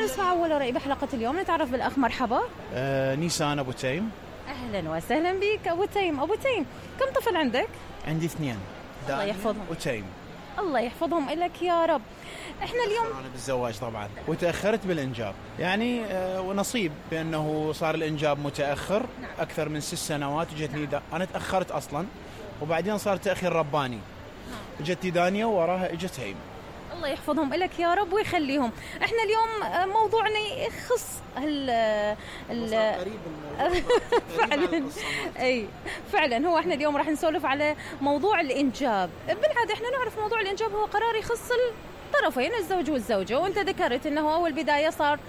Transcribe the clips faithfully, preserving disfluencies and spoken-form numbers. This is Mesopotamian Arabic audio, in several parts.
نسمع أول رأي بحلقة اليوم. نتعرف بالأخ. مرحبا. آه نيسان أبو تيم. أهلا وسهلا بك أبو تيم. أبو تيم، كم طفل عندك؟ عندي اثنين، الله يحفظهم. وتيم. الله يحفظهم إلك يا رب. إحنا اليوم أنا بالزواج طبعا وتأخرت بالإنجاب، يعني آه ونصيب بأنه صار الإنجاب متأخر أكثر من ست سنوات. وجتني دا... أنا تأخرت أصلا، وبعدين صار تأخير رباني. جتني دانيا ووراها إجت هيم. الله يحفظهم لك يا رب ويخليهم. احنا اليوم موضوعنا يخص هال ال قريب فعلا اي فعلا هو احنا اليوم راح نسولف على موضوع الانجاب. بالعاده احنا نعرف موضوع الانجاب هو قرار يخص الطرفين، الزوج والزوجه، وانت ذكرت انه اول بدايه صار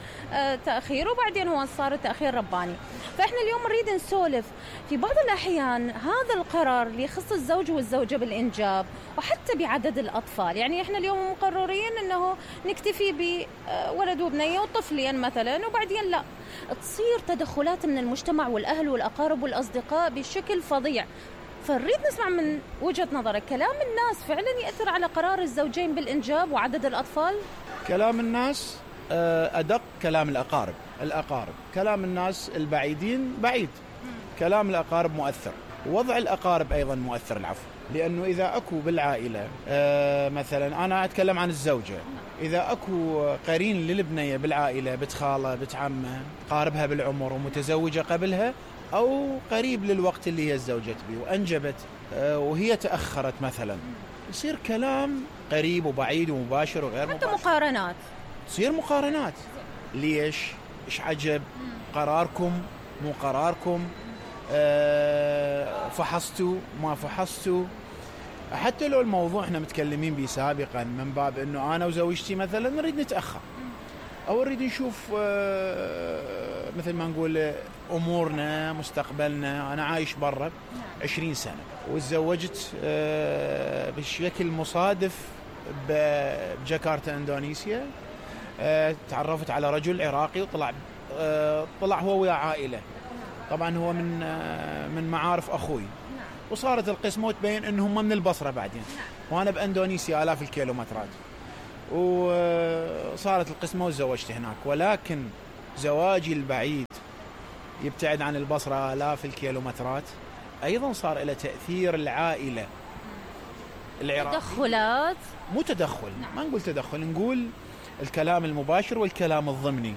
تاخير وبعدين هو صار تاخير رباني. فاحنا اليوم نريد نسولف في بعض الاحيان هذا القرار اللي يخص الزوج والزوجه بالانجاب وحتى بعدد الاطفال. يعني احنا اليوم مقررين انه نكتفي بولد وبنيه وطفلين مثلا، وبعدين لا، تصير تدخلات من المجتمع والاهل والاقارب والاصدقاء بشكل فظيع. فنريد نسمع من وجهة نظرك، كلام الناس فعلا يأثر على قرار الزوجين بالإنجاب وعدد الأطفال؟ كلام الناس أدق كلام الأقارب. الأقارب كلام الناس البعيدين بعيد، كلام الأقارب مؤثر، ووضع الأقارب أيضا مؤثر. العفو، لأنه إذا أكو بالعائلة مثلا، أنا أتكلم عن الزوجة، إذا أكو قرين للبنية بالعائلة، بنت خالة، بنت عمة، قاربها بالعمر ومتزوجة قبلها أو قريب للوقت اللي هي تزوجت به وأنجبت وهي تأخرت مثلا، يصير كلام قريب وبعيد ومباشر وغير حتى مباشر. مقارنات، تصير مقارنات. ليش؟ إيش عجب؟ قراركم مو قراركم، أه فحصتوا ما فحصتوا. حتى لو الموضوع احنا متكلمين به سابقا من باب انه انا وزوجتي مثلا نريد نتأخر او نريد نشوف أه مثل ما نقول امورنا مستقبلنا. انا عايش برا عشرين سنة وتزوجت أه بشكل مصادف بجاكرتا اندونيسيا. أه تعرفت على رجل عراقي وطلع أه طلع هو ويا عائلة، طبعا هو من أه من معارف اخوي، وصارت القسمة وتبين انهم من البصرة بعدين، وانا باندونيسيا الاف الكيلومترات، وصارت القسمة وتزوجت هناك. ولكن زواجي البعيد يبتعد عن البصرة الاف الكيلومترات ايضا صار له تأثير. العائلة العراقية تدخلات، مو تدخل، ما نقول تدخل، نقول الكلام المباشر والكلام الضمني.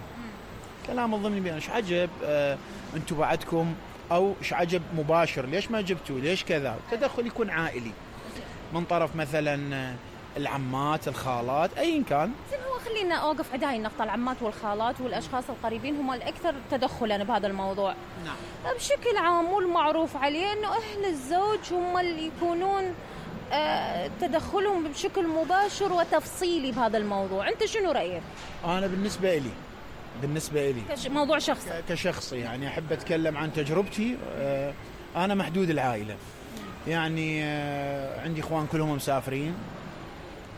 الكلام الضمني بأن ايش عجب آه انتم بعدكم، او ايش عجب مباشر، ليش ما جبتوا، ليش كذا. التدخل يكون عائلي من طرف مثلا العمات، الخالات، ايا كان. زين، هو خلينا اوقف عند هاي النقطه. العمات والخالات والاشخاص القريبين هم الاكثر تدخلا بهذا الموضوع. نعم. بشكل عام والمعروف عليه انه اهل الزوج هم اللي يكونون آه تدخلهم بشكل مباشر وتفصيلي بهذا الموضوع. انت شنو رايك؟ انا بالنسبه لي بالنسبه لي كش... موضوع شخصي كشخصي يعني احب اتكلم عن تجربتي. آه انا محدود العائله، يعني آه عندي اخوان كلهم مسافرين،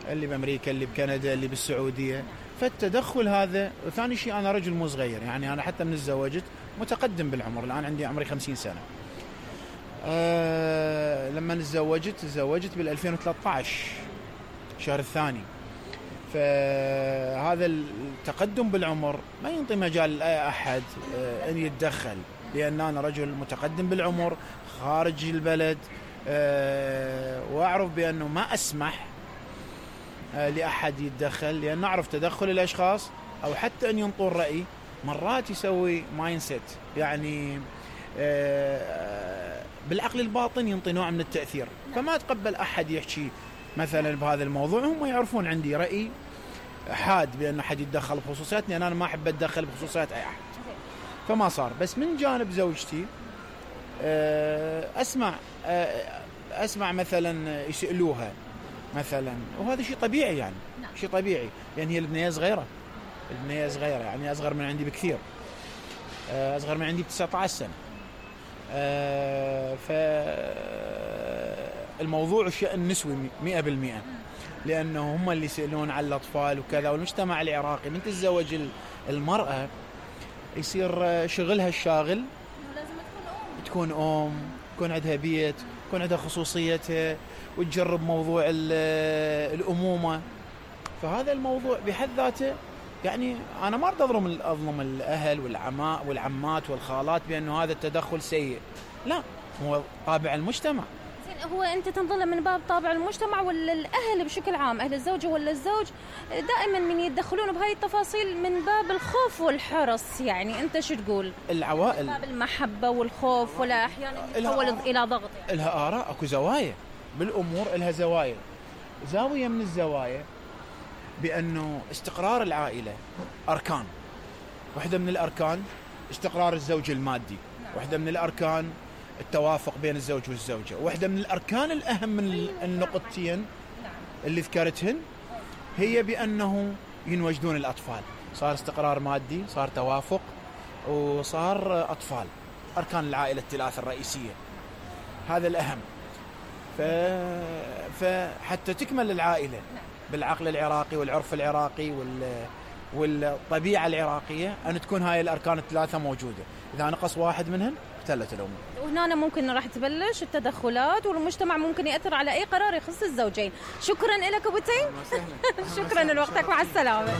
اللي بامريكا، اللي بكندا، اللي بالسعوديه. فالتدخل هذا. وثاني شيء انا رجل مو صغير، يعني انا حتى من تزوجت متقدم بالعمر، الان عندي عمري خمسين سنة. أه لما تزوجت تزوجت بالألفين وثلاثة عشر شهر الثاني. فهذا التقدم بالعمر ما ينطي مجال لأي أحد أه أن يتدخل، لأن أنا رجل متقدم بالعمر خارج البلد، أه وأعرف بأنه ما أسمح أه لأحد يتدخل، لأن نعرف تدخل الأشخاص أو حتى أن ينطوا الرأي مرات يسوي مايند سيت، يعني أه بالعقل الباطن ينطي نوع من التأثير. فما تقبل أحد يحكي مثلا بهذا الموضوع. هم يعرفون عندي رأي حاد بأن أحد يتدخل بخصوصياتني، أنا ما أحب أتدخل بخصوصيات أي أحد، فما صار. بس من جانب زوجتي أسمع أسمع مثلا يسألوها مثلا، وهذا شيء طبيعي، يعني شيء طبيعي، لأن هي البنية صغيرة، البنية صغيرة يعني أصغر من عندي بكثير، أصغر من عندي بتسعة عشر سنة. فالموضوع شأن نسوي مئة بالمئة، لأنه هم اللي يسألون على الأطفال وكذا. والمجتمع العراقي من تتزوج المرأة يصير شغلها الشاغل تكون أم، تكون عندها بيت، تكون عندها خصوصيتها، وتجرب موضوع الأمومة. فهذا الموضوع بحد ذاته يعني أنا ما أريد أظلم أظلم الأهل والعماء والعمات والخالات بأنه هذا التدخل سيء، لا، هو طابع المجتمع. هو أنت تنظر من باب طابع المجتمع ولا الأهل بشكل عام، أهل الزوجة ولا الزوج دائما من يتدخلون بهاي التفاصيل من باب الخوف والحرص؟ يعني أنت شو تقول؟ العوائل من باب المحبة والخوف ولا أحيانا يتحول إلى ضغط؟ يعني. لها آراء، أكو زوايا بالأمور، لها زوايا. زاوية من الزوايا بأنه استقرار العائلة أركان، واحدة من الأركان استقرار الزوج المادي، واحدة من الأركان التوافق بين الزوج والزوجة، واحدة من الأركان الأهم من النقطتين اللي ذكرتهن هي بأنه ينوجدون الأطفال. صار استقرار مادي، صار توافق، وصار أطفال. أركان العائلة الثلاثة الرئيسية، هذا الأهم. ف... فحتى تكمل العائلة بالعقل العراقي والعرف العراقي وال... والطبيعة العراقية أن تكون هاي الأركان الثلاثة موجودة. إذا نقص واحد منهم اختلت الأمور، وهنا ممكن راح تبلش التدخلات، والمجتمع ممكن يأثر على أي قرار يخص الزوجين. شكرا لك أبو تيم. شكرا لوقتك، مع السلامة.